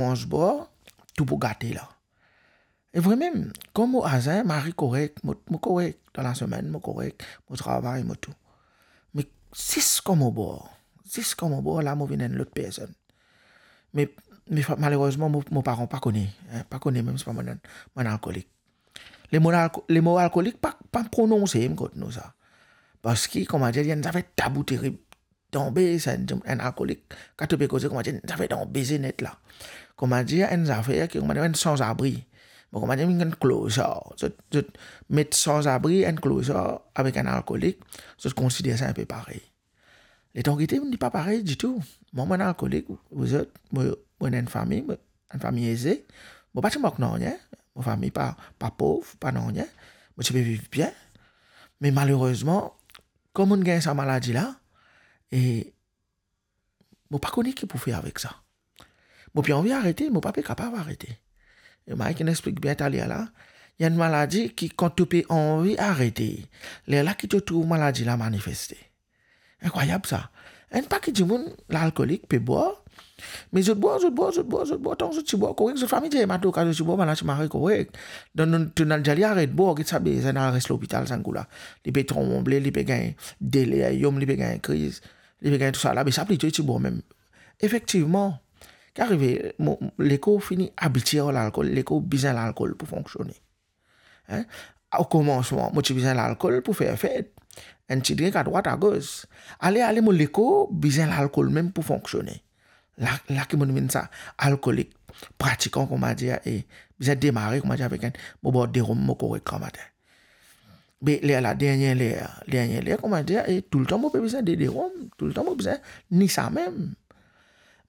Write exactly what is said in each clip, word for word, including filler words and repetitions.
manz bwar, tou pou gate la. E vremem, kan mo azin, mo ari korek, mo, mo korek, dan lasemenn, mo korek, mo travay, mo tou. Me zis kan mo bwar, zis kan mo bwar, la mo vinn enn lot personn. Me, me fa-, malerezman, mo, mo paran pa kone, en, pa kone mem si pa mo enn, mo enn alkolik. Lemo alko-, lemo alkolik pa, pa prononse kot nou sa. Parski, kouma dir, li enn zafer tabou terib. Donbe, sa enn, enn alkolik, kan to pe koze, kouma dir, enn zafer donbe net la. Kouma dir, enn zafer ki, kouma dir, enn sanzabri. Bon, kouma dir, enn klozar. Zot, zot met sanzabri, enn klozar avek enn alkolik, zot konsider sa inpe parey. Letan gete, li pa parey ditou. Mwa, mo enn alkolik, ou, ou zot, mo, mo ena enn fami, mo, enn fami eze. Mo pa ti mank nanye, mo fami pa, pa pov, pa nanye. Mo ti pe viv bien. Me malerezman, kan mo'nn gagn sa maladi la, e mo pa kone ki pou fer avek sa. Mo pe anvi arete, mo pa pe kapav arete. E mari ki'nn explik bien taler la, ena enn maladi ki kan to pe anvi arete, lerla ki to trouv maladi la manifeste. Inkrwayab sa. Enn pake dimoun, lalkolik, pe bwar, me zot bwar, zot bwar, zot bwar, zot bwar, tan zot ti bwar korek, zot fami dir, "Ema, to ka zot ti bwar, bann la ti mari korek." Dan nou, to'nn al dir li aret bwar, get sa be, sa ena res lopital sa kou la. Li pe tranble, li pe gagn deliriom, li pe gagn kriz, li pe gagn tousala, be sa plito li ti bwar mem. Efektivman, ki arive, mo, lekor fini abitie ar lalkol, lekor bizin lalkol pou fonksione. En? Okomansman, mo ti bizin lalkol pou fer fet. Enn ti drink adrwat, agos. Ale, ale, mo lekor bizin lalkol mem pou fonksione. La, la ki mo'nn vinn sa, alkolik, pratikan, kouma dir, e bizin demare, kouma dir, avek enn, mo bwar de rom, mo korek gramatin. Be lerla, dernie ler, dernie ler, kouma dir, e toultan mo pe bizin de, de rom, toultan mo bizin ni sa mem.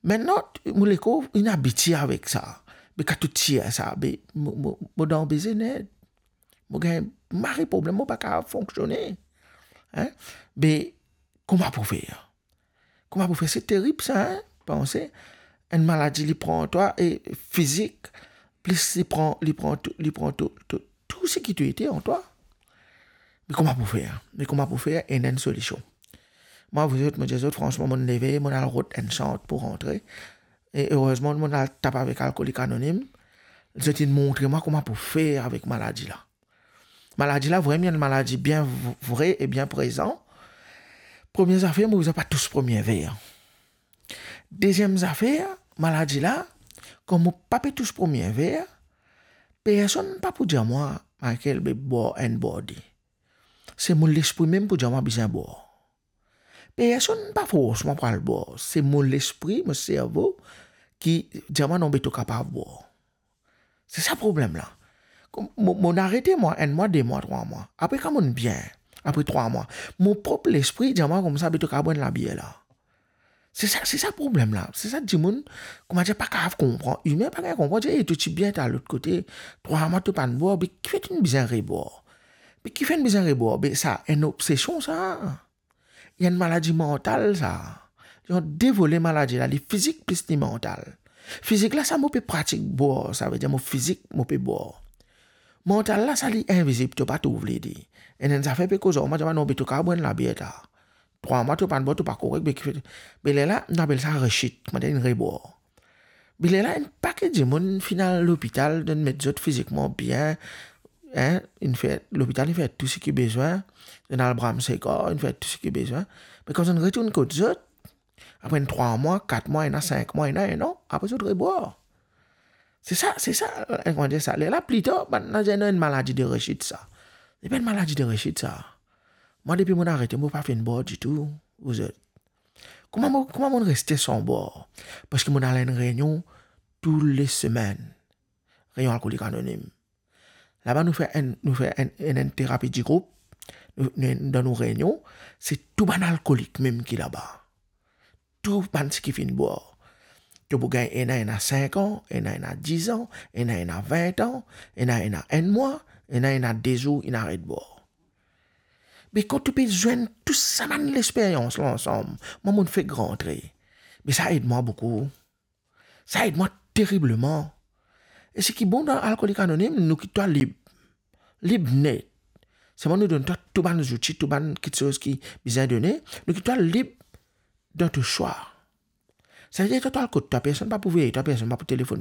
Mintnan, mo lekor inn abitie avek sa. Be kan to tir sa, be mo, mo, mo dan bizin net. Mo gagn mari problem, mo pa kapav fonksione. En? Be kouma pou fer? Kouma pou fer? Se terib sa, en? Panse, enn maladi li pran twa, e fizik, plis li pran, li pran tou, li pran tou, tou, tou seki to ete an twa. Me kouma pou fer? Me kouma pou fer? Ena enn solision. Mwa, avoue zot, mo dir zot, fransman, mo'nn leve, mo'nn al rod enn sant pou rantre. E erezman, mo'nn al tap avek Alkolik Anonim. Zot inn montre mwa kouma pou fer avek maladi la. Maladi la, vremem, enn maladi bien v-, vre e bien prezan. Premie zafer, mo bizin pa tous premie ver. Deziem zafer, maladi la, kan mo pa pe tous premie ver, personn pa pou dir mwa, "Michael, be bwar enn bwar de." Se mo lespri mem pou dir mwa bizin bwar. Personn pa fors mwa pou al bwar. Se mo lespri, mo servo ki dir mwa, "Non, be to kapav bwar." Se sa problem la. Kom mo, mo'nn arete mwa, enn mwa, de mwa, trwa mwa. Apre kan mo'nn bien, apre trwa mwa, mo prop lespri dir mwa koumsa, "Be to kapav bwar enn labier la." Se sa, se sa problem la. Se sa dimoun, kouma dir, pa kapav konpran. Imin pa kapav konpran, dir, "E, to ti bien ta lot kote, trwa mwa to pa'nn bwar, be kifer to'nn bizin rebwar? Be kifer to'nn bizin rebwar?" Be sa enn obsesion sa. Li enn maladi mantal sa. Li enn de vole maladi la, li fizik plis li mantal. Fizik la, sa mo pe pratik bwar, savedir mo fizik, mo pe bwar. Mantal la, sa li invizib, to pa trouv li, li. Enn, enn zafer pe koz ar mwa, dir mwa, "Non, be to kapav bwar enn labier ta. Trwa mwa to pa'nn bwar, to pa korek, be kifer?" Be lerla, nou apel sa rechit, kouma dir, enn rebwar. Be lerla, enn pake dimoun finn al lopital, donn met zot fizikman bien, en, inn fer, lopital inn fer tou seki bizin, inn al bramse kor, inn fer tou seki bizin. Me kan zot inn retourn kot zot, apre enn trwa mwa, kat mwa, ena sink mwa, ena enn an, apre zot rebwar. Se sa, se sa, eh, kouma dir sa. Lerla, pli tar, bann la dir, "Non, enn maladi de rechit sa." Li pa enn maladi de rechit sa. Mwa, depi mo'nn arete, mo pa finn bwar ditou, avoue zot. Kouma mo, kouma mo'nn reste san bwar? Parski mo'nn al enn reynion tou le semenn. Reynion Alkolik Anonim. Laba nou fer enn, nou fer enn, enn, enn terapi di group. Nou, nou, dan nou reynion, se tou bann alkolik mem ki laba. Tou bann seki finn bwar. To pou gagn ena, ena sink an, ena, ena diz an, ena, ena vin an, ena, ena enn mwa, ena, ena de zour, inn aret bwar. Me kan to pe zwenn tou sa bann lesperyans la ansam, mwa, mo'nn fek rantre. Me sa ed mwa boukou. Sa ed mwa teribleman. E seki bon dan Alkolik Anonim, nou kit twa lib. Lib net. Selman nou donn twa tou bann zouti, tou bann kiksoz ki bizin done, nou kit twa lib dan to swa. Sa vedir twa, twa al kot twa, personn pa pou veye twa, personn pa pou telefonn twa.